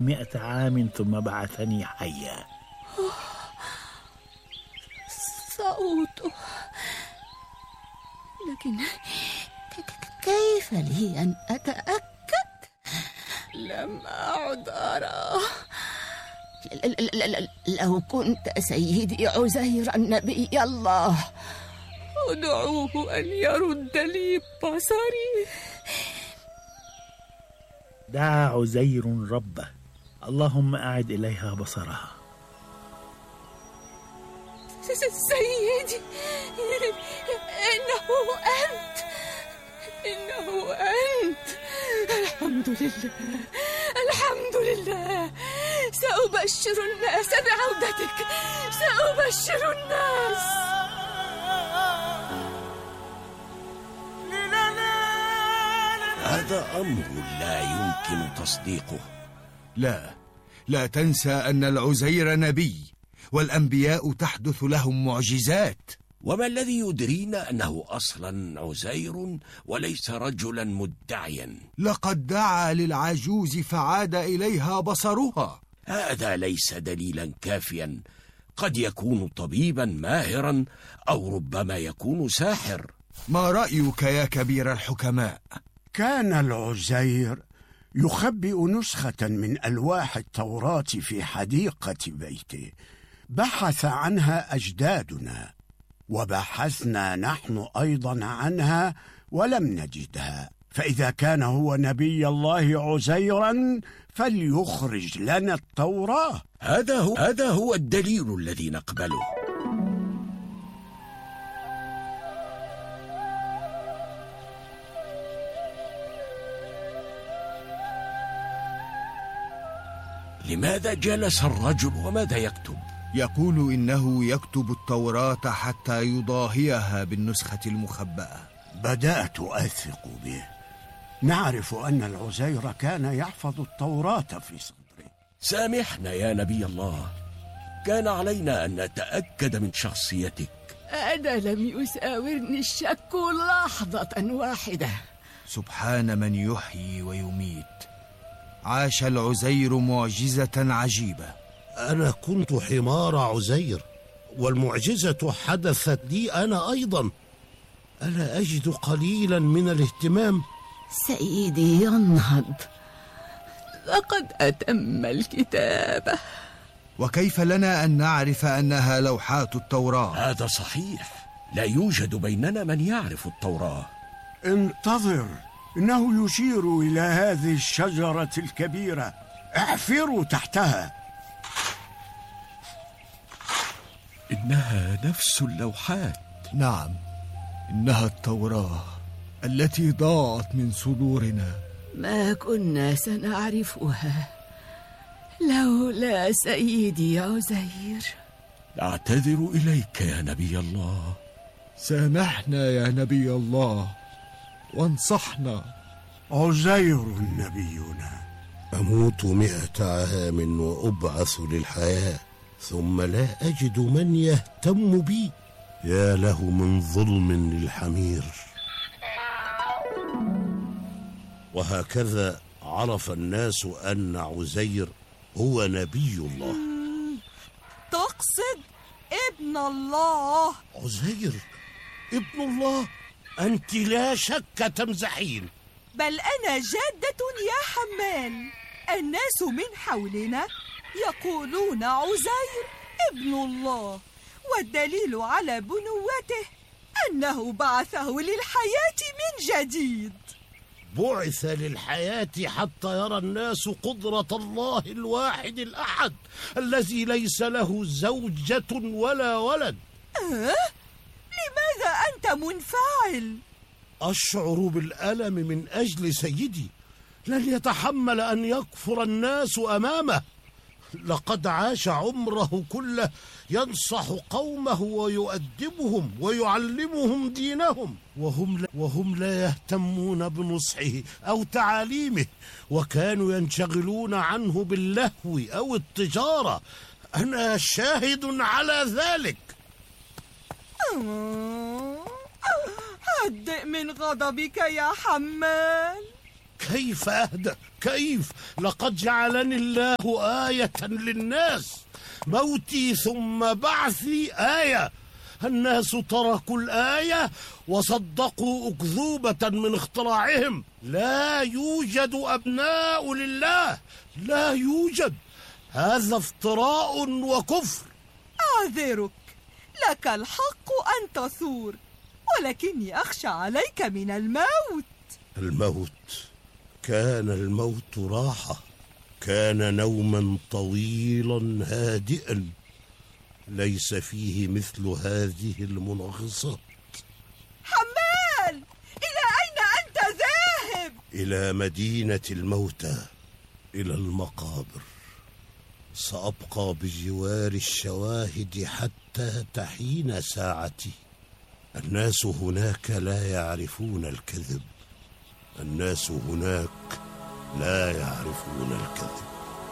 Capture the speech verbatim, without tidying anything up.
مئة عام ثم بعثني حيا. صوته، لكن كيف لي أن أتأكد؟ لم أعد أراه. لو كنت سيدي عزير النبي الله، ادعوه أن يرد لي بصري. دعا عزير ربه، اللهم أعد إليها بصرها. سيدي، إنه أنت، إنه أنت. الحمد لله، الحمد لله. سأبشر الناس بعودتك، سأبشر الناس. هذا أمر لا يمكن تصديقه. لا، لا تنسى أن العزير نبي، والأنبياء تحدث لهم معجزات. وما الذي يدرينا أنه أصلا عزير وليس رجلا مدعيا؟ لقد دعا للعجوز فعاد إليها بصرها. هذا ليس دليلا كافيا، قد يكون طبيبا ماهرا أو ربما يكون ساحر. ما رأيك يا كبير الحكماء؟ كان العزير يخبئ نسخة من ألواح التوراة في حديقة بيته، بحث عنها أجدادنا وبحثنا نحن أيضا عنها ولم نجدها، فإذا كان هو نبي الله عزيرا فليخرج لنا التوراة. هذا هو, هذا هو الدليل الذي نقبله. لماذا جلس الرجل وماذا يكتب؟ يقول إنه يكتب التوراة حتى يضاهيها بالنسخة المخبأة. بدأت أثق به. نعرف أن العزير كان يحفظ التوراة في صدره. سامحنا يا نبي الله، كان علينا أن نتأكد من شخصيتك. أنا لم يساورني الشك لحظة واحدة. سبحان من يحيي ويميت. عاش العزير معجزة عجيبة. أنا كنت حمار عزير، والمعجزة حدثت لي أنا أيضا. ألا أجد قليلا من الاهتمام؟ سيدي ينهض، لقد أتم الكتابة. وكيف لنا أن نعرف أنها لوحات التوراة؟ هذا صحيح، لا يوجد بيننا من يعرف التوراة. انتظر، إنه يشير إلى هذه الشجرة الكبيرة، احفروا تحتها. إنها نفس اللوحات. نعم، إنها التوراة التي ضاعت من صدورنا. ما كنا سنعرفها لولا سيدي عزير. أعتذر إليك يا نبي الله. سامحنا يا نبي الله وانصحنا. عزير نبينا. أموت مئة عام وأبعث للحياة، ثم لا أجد من يهتم بي. يا له من ظلم للحمير. وهكذا عرف الناس أن عزير هو نبي الله. تقصد ابن الله؟ عزير ابن الله؟ أنت لا شك تمزحين. بل أنا جادة يا حمال. الناس من حولنا يقولون عزير ابن الله، والدليل على بنوته أنه بعثه للحياة من جديد. بعث للحياة حتى يرى الناس قدرة الله الواحد الأحد الذي ليس له زوجة ولا ولد. أه؟ لماذا أنت منفعل؟ أشعر بالألم من أجل سيدي، لن يتحمل أن يكفر الناس أمامه. لقد عاش عمره كله ينصح قومه ويؤدبهم ويعلمهم دينهم، وهم لا, وهم لا يهتمون بنصحه أو تعاليمه، وكانوا ينشغلون عنه باللهو أو التجارة. أنا شاهد على ذلك. هدئ من غضبك يا حمال. كيف أهدأ؟ كيف؟ لقد جعلني الله آية للناس، موتي ثم بعثي آية. الناس تركوا الآية وصدقوا أكذوبة من اختراعهم. لا يوجد أبناء لله، لا يوجد. هذا افتراء وكفر. أعذرك، لك الحق أن تثور، ولكني أخشى عليك من الموت. الموت؟ كان الموت راحة، كان نوما طويلا هادئا ليس فيه مثل هذه المنغصات. حمال، إلى أين أنت ذاهب؟ إلى مدينة الموتى، إلى المقابر. سأبقى بجوار الشواهد حتى تحين ساعتي. الناس هناك لا يعرفون الكذب، الناس هناك لا يعرفون الكذب.